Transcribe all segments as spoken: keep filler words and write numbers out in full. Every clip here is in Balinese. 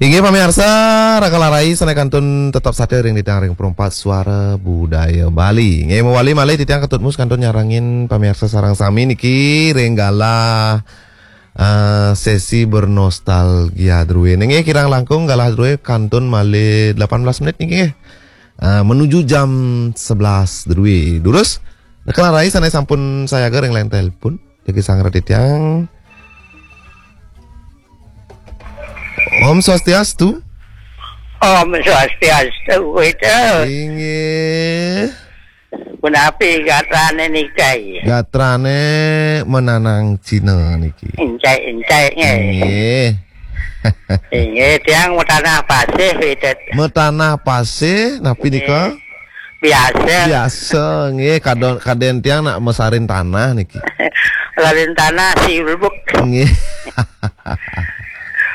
Inggih pamiarsa, Raka Larai sané kantun tetep satia ring titiang ring Perumpat Suara Budaya Bali. Inggih mawali malih titiang Ketut Mus kantun nyarengin pamiarsa sareng sami niki ring galah, eh, sesi bernostalgia drué. Inggih kirang langkung galah drué kantun malih delapan belas menit niki, eh, menuju jam sebelas drué. Durus, Raka Larai sané sampun sayaga ring line telepon. Jagi sangra titiang. Om Swastiastu. Om Swastiastu, Wida. Inggih. Punapi gatrané nika? Gatrané menanang Cina niki. Encék-encék, nggih. Nggih. Inggih, tiang matanah pasih, Wida. Matanah pasih, napi nika? Biasa. Biasa, nggih, kadon-, kadén tiang nak masarin tanah niki. Larin tanah silbuk. Nggih.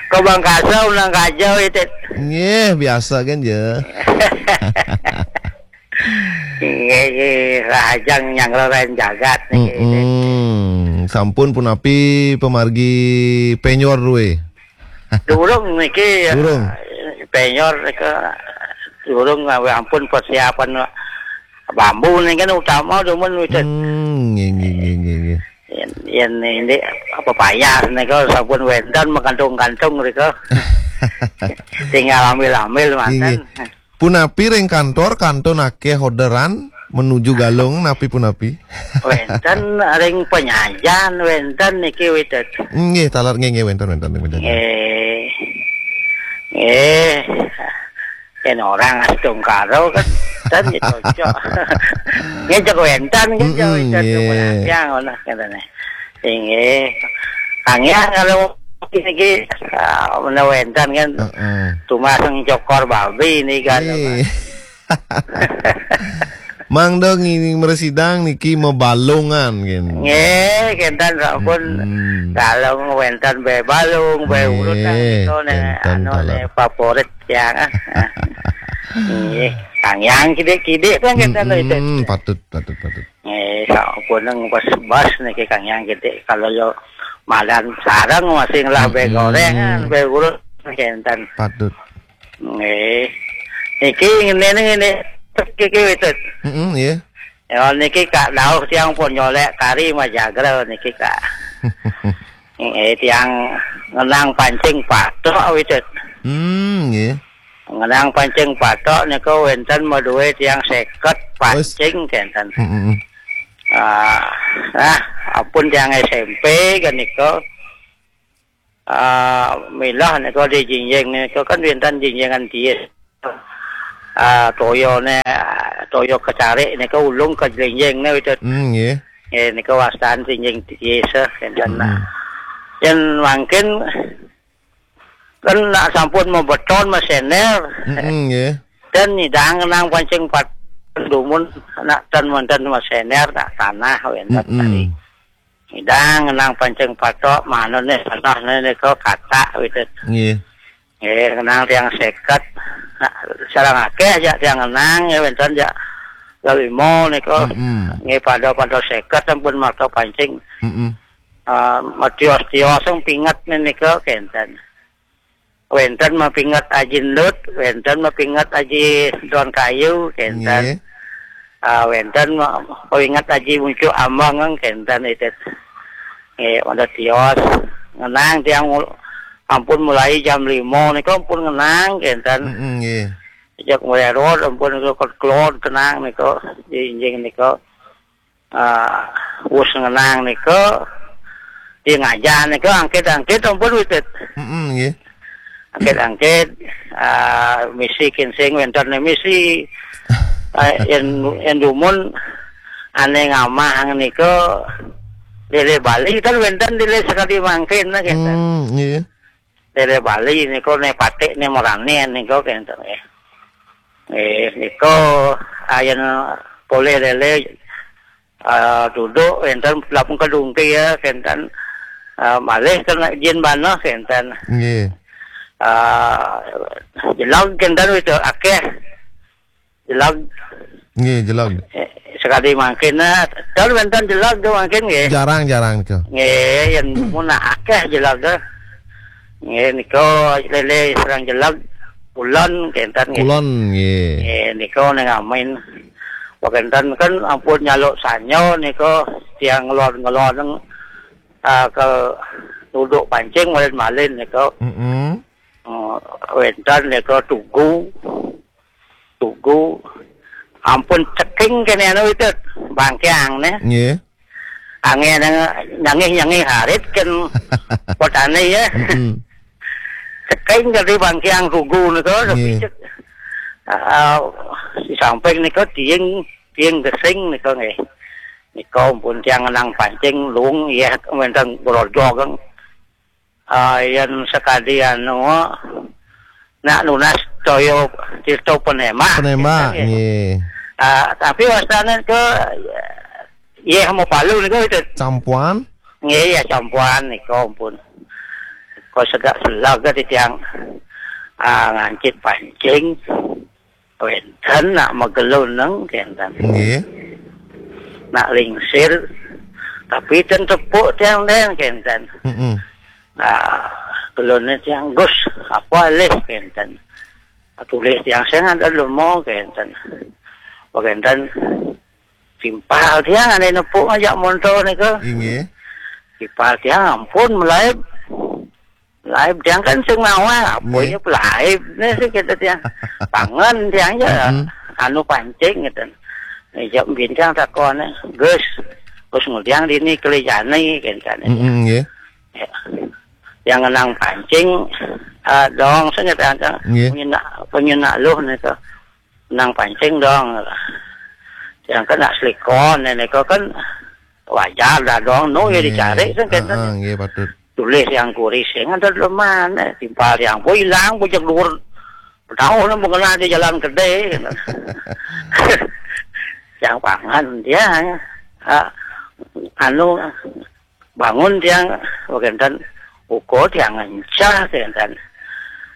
Kobang kasa unang kaja, Wida. Nggih, biasa kan ya. Nggih, nggih, rahajeng nyanggra ring jagat niki. Mm-mm. Sampun punapi pamargi penyor drué? Durung niki, durung. Penyor nika durung, ampun persiapan bambu niki kan utama dumun, Wida. Hmm, nggih, nggih, nggih, nggih, nggih. Yén, yén ini apa payah nika sampun wénten makantung-kantung nika. Tinggal ambil-ambil manten. Nggih. Punapi ring kantor, kantun akéh orderan menuju Galung, napi punapi? Wénten ring Penyajan, wénten niki, Wida. Nggih, taler nggih, nggih, wénten, wénten ring Penyajan. Nggih. Nggih. Yén orang astungkara kan, ten ya cocok. Nggih, cek wénten kan, mm-mm, cocok, nggih. Yang ngono katanya. Inggih. Kangyang kalau niki, ah, menawi wénten kan. Heeh. Tumaseng cokor babi niki kan. Nggih. Mangda ngiring mresidang niki mabalungan, gin. Nggih, kénten sampun. Mm-mm. Kalau wénten bé balung, bé, nggih, urut kan nika né, kénten anu, taler, né favorit yang, ah. Nggih, kangyang kidik-kidik kan kénten, mm-mm, itu. Patut, patut, patut. Nggih, sampun bas-bas niki kangyang kidik. Kalau yo madan sareng masih ngelah bé, mm-mm, goréngan, bé urut kénten. Patut. Nggih. Niki ngene, ngene. Niki, Witut. Heeh, nggih. Ya, niki Kak dauh tiang pun nyolék kari majagra niki, Kak. Nggih, tiang ngenang pancing patok, Witut. Hmm, nggih. Ngenang pancing patok nika wénten madué tiang seket. Wes. Pancing kénten. Heeh. Ah, nah, ampun tiang S M P kan nika. Ah, milah nika di jinjing nika kan wénten jinjingan tiis. Ah, toyané, ah, toya kecarik nika ulung ka jinjingné, Witut. Hmm, nggih. Nggih, nika wastan jinjing tiis, eh, kénten. Mm-mm. Yén mangkin kan nak sampun mabeton, masenér. Mm-mm, nggih. Dan nyidang ngenang pancing pat-, dumun nak tan manten masenér, nak tanah wénten. Mm-mm. Tadi. Nyidang ngenang pancing patok, manuné tanahné nika katak, Witut. Nggih. Nggih, ngenang tiang seket. Nah, sareng akéh jak tiang ngenang, ya, wénten jak lima nika. Mm-mm. Nggih, pada-pada seket sampun makta pancing. Mm-mm. Ah, matios-tios sing pinget nika kénten. Wénten mapinget Aji Endut, wénten mapinget Aji Don Kayu, kénten. Nggih. Ah, wénten ma-, mapinget Aji Muncuk Ambang, kénten, Witut. Nggih, pada tios. Ngenang tiang mul-, ampun mulai jam lima nika ampun ngenang, kénten. Mm-mm, nggih. Jak mulai rod ampun nika kelod tenang nika, jinjing nika. Ah, wus ngenang nika, di ngajah nika angkit-angkit ampun, Witut. Mm-mm, nggih. Angkit-angkit, ah, misi kinsing wénten misi. Ah, yén, yén dumun ané ngamah nika lélé Bali kan wénten lélé sakadi mangkin, nah, kénten. Hmm, nggih. Lélé Bali nika né patik né marané nika kénten, nggih. Nggih, nika ayeuna polih lélé, ah, duduk wénten lapung kedungki ya, kénten, ah, malih kena jin banah kénten. Nggih. Ah, jelag kénten wétu akéh. Jelag. Nggih, jelag. Eh, sakadi mangkin, nah, kan wénten jelag tuh mangkin nggih. Jarang-jarang tuh. Nggih, yén mun akéh jelag tuh. Nggih, nika lele sareng jeleg, kulon kenten nggih. Kulon nggih. Nggih, nika ning amin. Wah, kenten kan ampun nyaluk sanyo nika, tiang ngelon-ngelon, ah, ke duduk pancing malin-malin nika. Mm-mm. Oh, wenten nika tugu. Tugu. Ampun ceking kene anu itu, bangkiang ne. Nggih. Angin nyangih-nyangih harit kan petani ya. Mm-mm. Ceking jadi bangkiang tugu nika, tapi Nggih. cek, ah, di samping nika tiing, tiing gesing nika nggih. Nika ampun tiang ngenang pancing lung ya, wenten grojog. Ah, yen sakadi anu, nak nunas toyo tirta penema. Penema, Nggih. nggih. Ah, tapi wastane ke, yeh mau palu niku itu. Campuan? Nggih, ya campuan niku ampun. Kok sedak selag ke titiang, ah, ngancit pancing. Wenten nak mageluneng kenten. Nggih. Nak lingsir, tapi ten tepuk tiang den kenten. Mm-mm. Nah, gelone tiang Gus, apa alih kenten. Tulis tiang sing ada lemo kenten. Kenten timpal tiang ane nepuk ngajak montor nika. Inggih. Timpal tiang ampun melaib. Laib tiang kan sing mawar, apa Nggih. ya pelaib ni sih kita tiang. Pangan tiang je. Mm-mm. Anu pancing gitu. Ijak bintang takon, "Gus, Gus ngudiang dini keli jani," kenten. Mm-mm, nggih. Ya. Yang ngenang pancing, ah, dong sing kenten. Nggih. Penyenak, penyenak luh nika. Nang pancing dong. Yang kena selikon, nika kan wajar dah dong. No ya Nggih. dicari sing kenten. Heeh, nggih patut. Tulis yang kuris, yang ada leman, eh, timpal yang pun hilang, bujak luar. Tahu lah mengenal di jalan gede. Yang pangan dia, ah, anu, bangun tiang, kenten, uko tiang ngencah, kenten.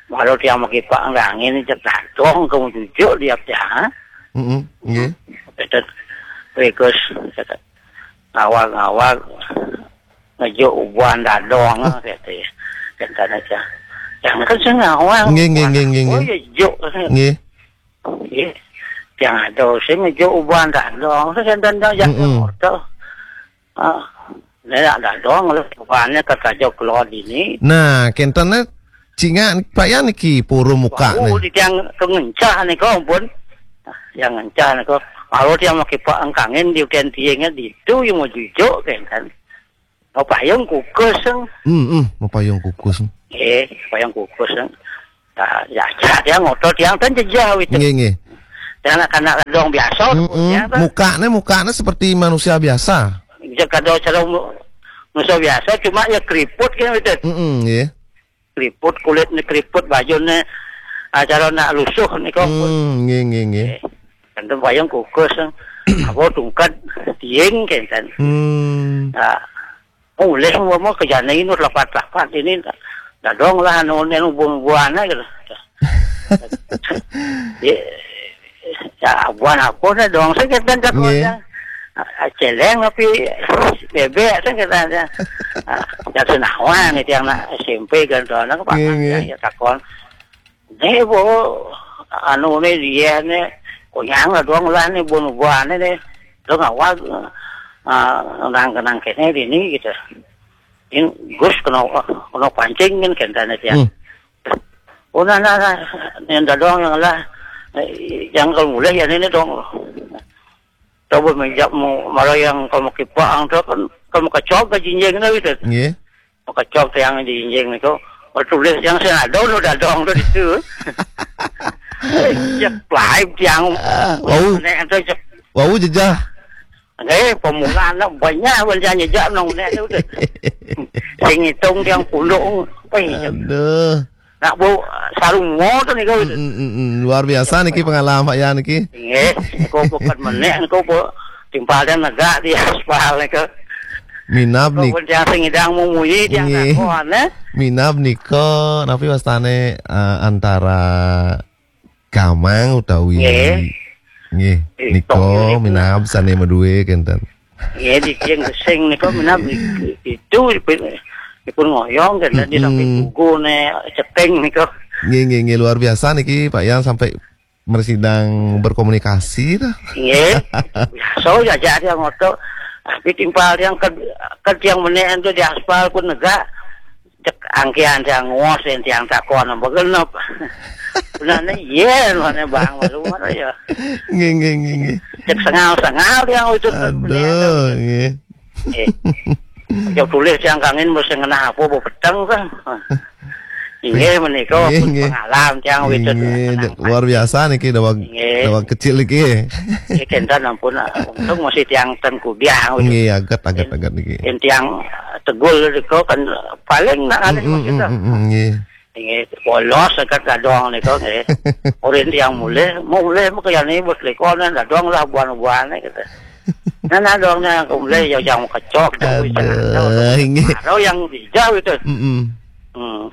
Malu tiang makipak angin, cek datong, kamu jujur dia tiang, ha? Mm-mm, nggih. Kenten, Gus, kenten, ngawag-ngawag, ngejuk ubuan dadong, kenten. Kenten aja. Yang kan sing ngawag. Nggih, nggih, nggih, nggih, Oh, nggih. ya juk. Nggih. Nggih. Yang ada sing ngejuk ubuan dadong, kenten, yang Mm-mm. orto. Ah, nek dadong, ubuannya kata jok kelod ini. Nah, kenten ne cingak Pak Yan niki puru muka Oh, ne. di tiang kengencah nika ampun. Yang ngencah nika. Kalau tiang makipak angkangin di ukian tiangnya di itu yang mau jujuk kenten. Mau payung kukus, seng. Hmm, hmm, mau payung kukus. Eh, payung kukus, seng. Nah, ya, ya, tiang ngotot, tiang kan jejah gitu. Nggih, nggih. Tiang nak kanak dong biasa, Mm-mm. ya, kan? Mukane, mukane seperti manusia biasa. Jek kada cara mu-, manusia biasa, cuma ya keriput kan gitu. Mm-mm, nggih. Keriput, kulit ni keriput, baju ni, ah, cara nak lusuh ni kok. Hmm, nggih, nggih, nggih. Eh, kan tu payung kukus, kan. Apa tungkat, tiing, kan, kan. Hmm. Ah, mulih semua mau ke jana ini, lapat-lapat ini, dadong lah, anu, ni, anu, buah-buahan aja lah. Ya, ya, buah apa dah, dong, saya kata, Nggih. Ah, celeng tapi bebek, saya kata, ah, ya, senawan itu yang nak S M P kan, tuh, anak apa, Nggih, nggih. ya, ya, takon. Ni, bu, anu ni, dia ni, kunyang lah, dong lah ni, buah-buahan ni, dong awal, ah, nang, nang kene ini, gitu. Ini Gus kena, kena pancing kan, kan, tanya dia. Hmm. Oh, nah, nah, nah, yang dadong yang lah, eh, yang kalau mulai ya ini dong. Coba menjak mu, malah yang kamu kipang tu kan, kamu kecop ke jinjing tu gitu. Nggih. Mau kecop tu yang jinjing itu, mau tulis yang saya ada lu dadong tu itu. Ya, live yang Ah, wau. Nek tu cek. Wau jejah. Eh, pemula nak banyak banyak nyejak nong nek tu. Sing hitung yang punduk. Eh, Aduh. Nak bau sarung mo tu ni kau. Mm, mm, mm, mm. Luar biasa niki pengalaman Pak Yan niki. Nggih, kau bukan menek, kau bu timpal dan negak di aspal ni kau. Minab Kau nik-, pun tiang sing idang mau muyi, tiang Nggih. takon, eh. Minab nika, napi wastane, eh, antara gamang utawi Nggih. Nggih, Eh, nika tok, nggih. minab sane madue kenten. Nggih, di tiang gesing nika minab itu Ipun ngoyong kan, di samping buku ne ceting nih kok. Nggih, nggih, nggih, luar biasa niki Pak Yan sampai mresidang berkomunikasi dah. Nggih. So ya jadi yang ngoto. Tapi timpal yang ke ke yang meneh itu di aspal pun negak. Cek angkian yang ngos yang tiang takon apa genep. Benar nih, iya, mana bang malu mana ya. Nggih, nggih, nggih, nggih. Cek sengal-sengal yang itu. Aduh, nggih. Eh, jauh tulis yang kangen mesti ngena apa bu peteng kan. Iya menika pun pengalaman yang itu. Luar biasa niki dawang dawang kecil niki. Iya kentan ampun, untung masih tiang ten kudiang gitu. Nggih, aget aget aget niki. Yang tiang tegul itu kan paling nak alih maksudnya. Nggih. Nggih, polos sekat dadong niku nggih. Orang tiang mulih, mau mulih mau kaya ni bos lekonan dadong lah buan-buan gitu. Nah, nah dong yang mulih ya yang kecok. Aduh, nggih. Kalau yang hijau itu. Mm-mm. Hmm.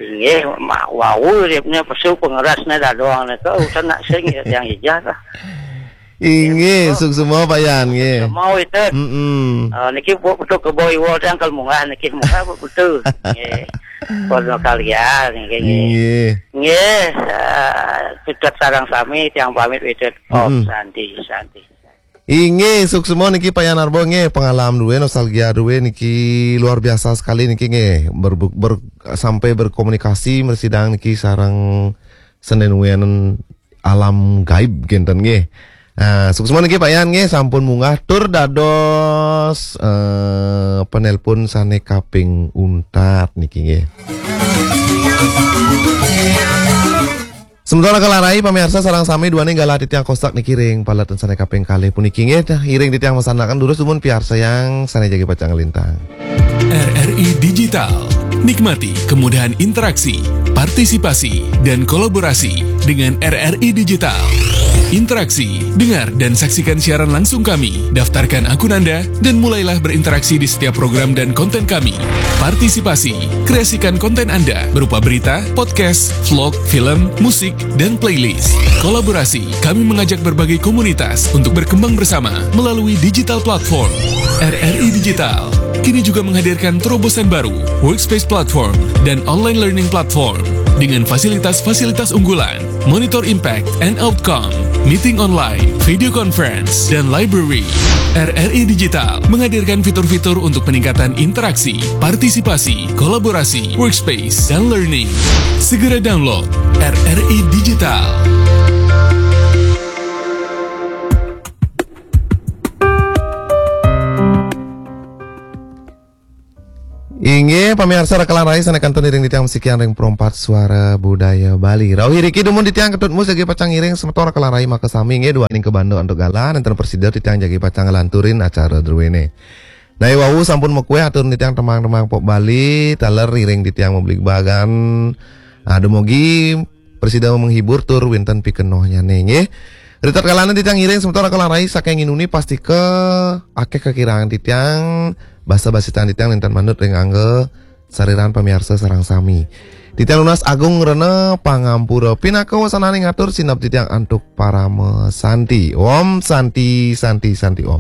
Nggih, mak wau ribnya pesu pengerasnya dadong niku urusan nak sing ya yang hijau lah. Inggih, suksema Pak Yan nggih. Mau itu. Mm-mm. Ah, niki bu betul ke bawah iwal yang kalau munggah niki munggah bu betul. Nggih. Kono kalian nggih. Nggih. Nggih, ah, Pitet sarang sami tiang pamit Pitet. Om Santi, Santi. Inggih, suksema niki Pak Yan Arbo nggih, pengalaman duwe, nostalgia duwe niki luar biasa sekali niki nggih. Ber, ber, sampai berkomunikasi mresidang niki sareng Senin Wenen alam gaib genten nggih. Nah, suksema niki Pak Yan nggih sampun munggah tur dados eh, penelpon sane kaping untat niki nggih. Sementara kalarai pamirsa sareng sami duane galah titiang kostak niki ring paletan sane kaping kalih puniki nggih. Iring titiang masanaken durus dumun piarsa yang sane jagi pacang lintang. R R I Digital. Nikmati kemudahan interaksi, partisipasi, dan kolaborasi dengan R R I Digital. Interaksi, dengar dan saksikan siaran langsung kami. Daftarkan akun Anda dan mulailah berinteraksi di setiap program dan konten kami. Partisipasi, kreasikan konten Anda berupa berita, podcast, vlog, film, musik, dan playlist. Kolaborasi, kami mengajak berbagai komunitas untuk berkembang bersama melalui digital platform. R R I Digital kini juga menghadirkan terobosan baru, Workspace Platform dan Online Learning Platform, dengan fasilitas-fasilitas unggulan, Monitor Impact and Outcome, Meeting Online, Video Conference, dan Library. R R I Digital menghadirkan fitur-fitur untuk peningkatan interaksi, partisipasi, kolaborasi, workspace, dan learning. Segera download R R I Digital. Inggih, pamirsa rekalan rai sane kantun iring titiang masikian ring perempat suara budaya Bali. Rauh iriki dumun titiang Ketut Mus jagi pacang iring semeton rekalan rai maka sami inggih duaning kebanda antuk galah nenten presida titiang jagi pacang ngelanturin acara druene. Nah, wau sampun mekueh atur titiang temang-temang pop Bali, taler iring titiang membeli bagan. Aduh mogi presida menghibur tur wenten pikenohnyane nggih. Ritat kalane titiang iring semeton rekalan rai saking inuni pastika akeh kekirangan titiang, basa basitan titiang nenten manut ring angga sariran pamirsa sareng sami. Titiang nunas agung rena pangampura pinaka wasananing atur sinab titiang antuk parama santi. Om santi santi om.